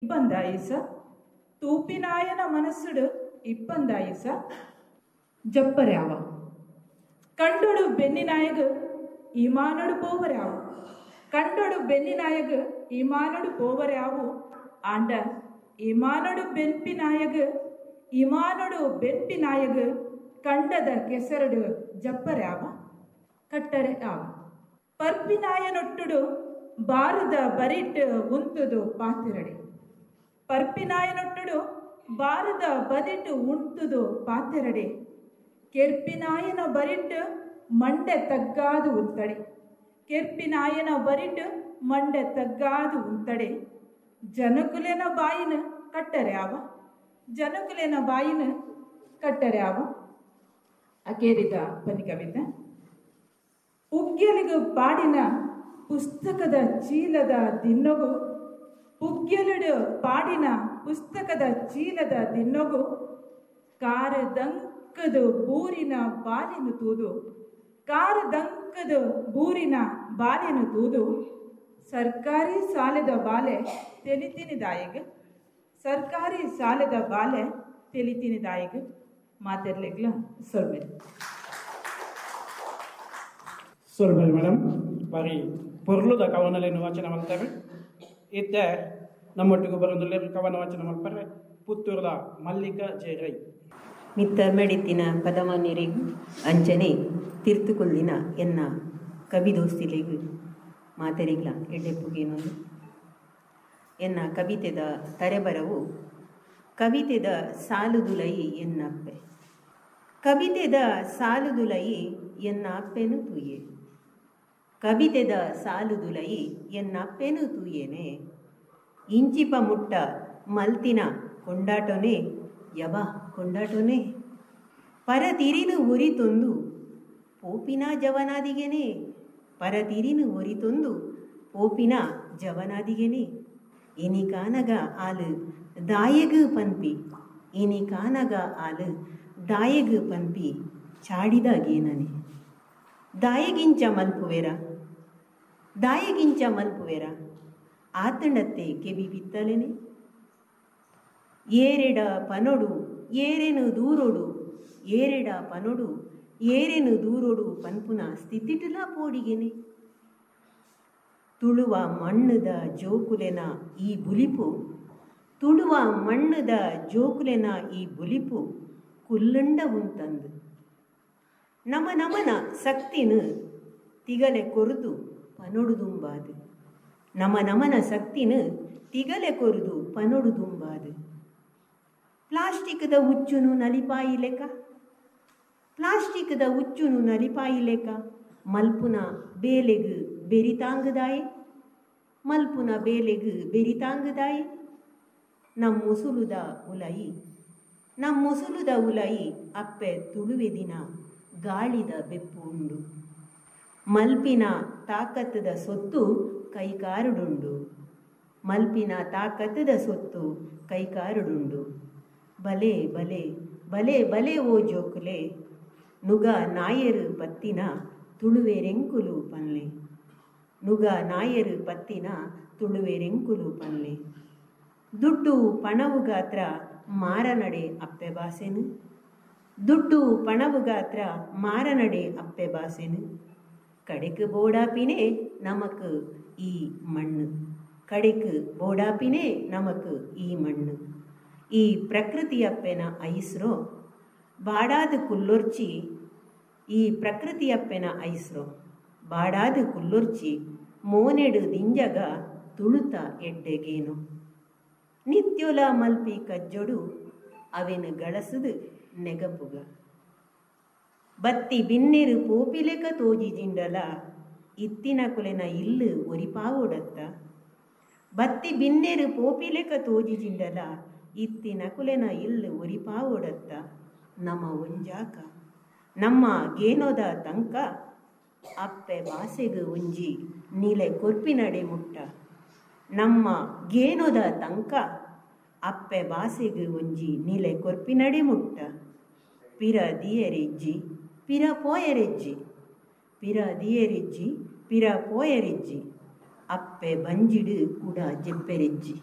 ಇಪ್ಪಂದಾಯಿಸ ತೂಪಿನಾಯನ ಮನಸ್ಸುಡು ಇಪ್ಪಂದಾಯಿಸ ಜಪ್ಪರ್ಯಾವ ಕಂಡೊಡು ಬೆನ್ನಿನಾಯಗ ಇಮಾನೊಡು ಪೋವರ್ಯಾವು ಕಂಡೊಡು ಬೆನ್ನಿನಾಯಗ ಇಮಾನೊಡು ಪೋವರ್ಯಾವು ಆಂಡ ಇಮಾನೊಡು ಬೆನ್ಪಿನಾಯಗ ಇಮಾನೊಡು ಬೆನ್ಪಿನಾಯಗ ಕಂಡದ ಕೆಸರಡು ಜಪ್ಪರ್ಯಾವ ಕಟ್ಟರೆ ಆವ ಪರ್ಪಿನಾಯನೊಟ್ಟುಡು ಬಾರದ ಬರಿಟ್ ಉಂತುದು ಪಾತಿರಡೆ ಪರ್ಪಿನಾಯನೊಟ್ಟುಡು ಬಾರದ ಬದಿಟ್ಟು ಉಂಟುದು ಪಾತೆರಡೆ ಕೆರ್ಪಿನಾಯನ ಬರಿಟ್ ಮಂಡೆ ತಗ್ಗಾದು ಉಂತಡೆ ಕೆರ್ಪಿನಾಯನ ಬರಿಟ್ ಮಂಡೆ ತಗ್ಗಾದು ಉಂತಡೆ ಜನಕುಲೆನ ಬಾಯಿನ ಕಟ್ಟರೆ ಆವ ಜನಕುಲೆನ ಬಾಯಿನ ಕಟ್ಟರೆ ಆವ. ಅಕೇರಿದ ಪನಿ ಕವಿತೆ. ಪುಗ್ಗೆಲಿಗು ಪಾಡಿನ ಪುಸ್ತಕದ ಚೀಲದ ದಿನ್ನೊಗು ಪುಗ್ಗೆಲುಡು ಪಾಡಿನ ಪುಸ್ತಕದ ಚೀಲದ ದಿನ್ನೊಗು ಕಾರದಂಕದು ಬೂರಿನ ಬಾಲಿನ ತೂದು ಕಾರದಂಕದು ಬೂರಿನ ಬಾಲಿನ ತೂದು ಸರ್ಕಾರಿ ಸಾಲದ ಬಾಲೆ ತೆಲಿತಿನಿದಾಯಿಗೆ ಸರ್ಕಾರಿ ಸಾಲದ ಬಾಲೆ ತೆಲಿತಿನಿದಾಯಿಗೆ. ಮಾತಾಡ್ಲಿಗ್ಲ ಸೊಲ್ಮೆಲ್ ಸೊಲ್ಮೆಲ್ ಮೇಡಮ್. ಬಾರಿ ಪೊರ್ಲುದ ಕವನಲೇನು ವಾಚನ ಮಾಡ್ತಾರೆ. ಇತ್ತೆ ನಮ್ಮೊಟ್ಟಿಗೆ ಬರೋದಿಲ್ಲ ಕವನ ವಾಚನ ಮಾಡ್ತಾರೆ ಪುತ್ತೂರದ ಮಲ್ಲಿಕಾ ಜೆ ರೈ. ಮಿತ್ತ ಮೆಡಿತಿನ ಪದಮಾನ್ಯರಿಗೂ ಅಂಚನೆ ತಿರ್ತುಕೊಲ್ಲಿನ ಎನ್ನ ಕವಿ ದೋಸ್ತಿಲೆಗೂ ಮಾತರಿಗ್ಲ ಎಡ್ಡೆಪ್ಪುಗೇನೊಂದು ಎನ್ನ ಕವಿತೆದ ತರೆಬರವು ಕವಿತೆದ ಸಾಲುದುಲೈ ಎನ್ನಪ್ಪೆ ಕವಿತೆದ ಸಾಲುದುಲೈ ಎನ್ನ ಅಪ್ಪೆನು ತೂಯೆ ಕವಿತೆದ ಸಾಲುದುಲೈ ಎನ್ನ ಅಪ್ಪೆನು ತೂಯೇನೆ ಇಂಚಿಪ ಮುಟ್ಟ ಮಲ್ತಿನ ಕೊಂಡಾಟೋನೆ ಯಬ ಕೊಂಡಾಟೋನೆ ಪರತಿರಿನು ಉರಿತೊಂದು ಪೋಪಿನ ಜವನಾದಿಗೆನೆ ಪರತಿರಿನು ಒರಿತೊಂದು ಪೋಪಿನ ಜವನಾದಿಗೆನೆ ಇನಿ ಕಾನಗ ಆಲು ದಾಯಗು ಪನ್ಪಿ ಇನಿ ಕಾನಗ ಆಲು ದಾಯಗು ಪನ್ಪಿ ಚಾಡಿದಾಗೇನನೆ ದಾಯಗಿಂಚ ಮಲ್ಪುವೆರ ದಾಯಗಿಂಚ ಮಲ್ಪುವೆರ ಆತಂಡತ್ತೆ ಕೆಬಿ ಬಿತ್ತಲೆನೆ ಏರೆಡ ಪನೊಡು ಏರೆನು ದೂರೊಡು ಏರೆಡ ಪನೊಡು ಏರೆನು ದೂರೊಡು ಪನ್ಪುನ ಸ್ಥಿತಿಟುಲ ಪೋಡಿಗೆನೆ ತುಳುವ ಮಣ್ಣುದ ಜೋಕುಲೆನ ಈ ಬುಲಿಪು ತುಳುವ ಮಣ್ಣುದ ಜೋಕುಲೆನ ಈ ಬುಲಿಪು ಕುಲ್ಲಂಡ ಉಂತಂದು ನಮ ನಮನ ಸಕ್ತಿನ ತಿಗಲೆ ಕೊರುದು ಪನೊಡುದುಂಬಾದು ನಮ ನಮನ ಸಕ್ತಿನ ತಿಗಲೆ ಕೊರುದು ಪನೊಡುದುಂಬಾದು ಪ್ಲಾಸ್ಟಿಕ್ದ ಉಚ್ಚುನು ನಲಿಪಾಯಿ ಲೆಕ್ಕ ಪ್ಲಾಸ್ಟಿಕ್ದ ಉಚ್ಚುನು ನಲಿಪಾಯಿ ಲೆಕ್ಕ ಮಲ್ಪುನ ಬೇಲೆಗು ಬೆರಿತಾಂಗದಾಯೆ ಮಲ್ಪುನ ಬೇಲೆಗು ಬೆರಿತಾಂಗದಾಯೆ ನಮ್ಮ ಮುಸುಲುದ ಉಲಯಿ ನಮ್ಮ ಮುಸುಲುದ ಉಲಯಿ ಅಪ್ಪೆ ತುಳುವೆ ದಿನ ಗಾಳಿದ ಬೆಪ್ಪು ಉಂಡು ಮಲ್ಪಿನ ತಾಕತ್ತದ ಸೊತ್ತು ಕೈಕಾರುಡುಂಡು ಮಲ್ಪಿನ ತಾಕತ್ತದ ಸೊತ್ತು ಕೈಕಾರುಡುಂಡು ಬಲೆ ಬಲೆ ಬಲೆ ಬಲೆ ಓ ಜೋಕುಲೆ ನುಗ ನಾಯರು ಪತ್ತಿನ ತುಳುವೆರೆಂಕುಲು ಪನ್ಲೆ ನುಗ ನಾಯರು ಪತ್ತಿನ ತುಳುವೆರೆಂಕುಲು ಪನ್ಲೆ ದುಡ್ಡು ಪಣವು ಗಾತ್ರ ಮಾರನಡೆ ಅಪ್ಪೆ ಬಾಸೆನು ದುಡ್ಡು ಪಣವು ಗಾತ್ರ ಮಾರನಡೆ ಅಪ್ಪೆ ಬಾಸೆನು ಕಡೆಕು ಬೋಡಾಪಿನೇ ನಮಕ್ ಈ ಮಣ್ಣು ಕಡೆಕು ಬೋಡಾಪಿನೇ ನಮಕ್ ಈ ಮಣ್ಣು ಈ ಪ್ರಕೃತಿಯಪ್ಪೆನ ಐಸ್ರೋ ಬಾಡಾದ ಕುಲ್ಲೊರ್ಚಿ ಈ ಪ್ರಕೃತಿಯಪ್ಪೆನ ಐಸ್ರೋ ಬಾಡಾದ ಕುಲ್ಲೊರ್ಚಿ ಮೋನೆಡು ದಿಂಜಗ ತುಳುತ ಎಡ್ಡೆಗೇನು ನಿತ್ಯೊಲ ಮಲ್ಪಿ ಕಜ್ಜೊಡು ಅವೆನು ಗಳಸುದು ನೆಗಪುಗ ಬತ್ತಿ ಬಿನ್ನೆರು ಪೋಪಿಲೆಕ ತೋಜಿ ಜಿಂಡಲ ಇತ್ತಿನ ಕುಲೆನ ಇಲ್ಲು ಒರಿಪಾವೊಡತ್ತ ಬತ್ತಿ ಬಿನ್ನೆರು ಪೋಪಿಲೆಕ ತೋಜಿ ಜಿಂಡಲ ಇತ್ತಿನ ಕುಲೆನ ಇಲ್ಲು ಒರಿಪಾವೊಡತ್ತ ನಮ್ಮ ಒಂಜಾಕ ನಮ್ಮ ಗೇನೋದ ತಂಕ ಅಪ್ಪೆ ಬಾಸೆಗು ಒಂಜಿ ನೀಲೆ ಕೊರ್ಪಿನಡೆ ಮುಟ್ಟ ನಮ್ಮ ಗೇನೋದ ತಂಕ ಅಪ್ಪೆ ಬಾಸೆಗು ಒಂಜಿ ನೀಲೆ ಕೊರ್ಪಿನಡೆ ಮುಟ್ಟ ಪಿರ ದಿಯರೆಜ್ಜಿ ಪಿರ ಪೋಯರೆಜ್ಜಿ ಪಿರ ದಿಯರೆಜ್ಜಿ ಪಿರ ಪೋಯರೆಜ್ಜಿ ಅಪ್ಪೆ ಬಂಜಿಡು ಕೂಡ ಜೆಪ್ಪೆರೆಜ್ಜಿ.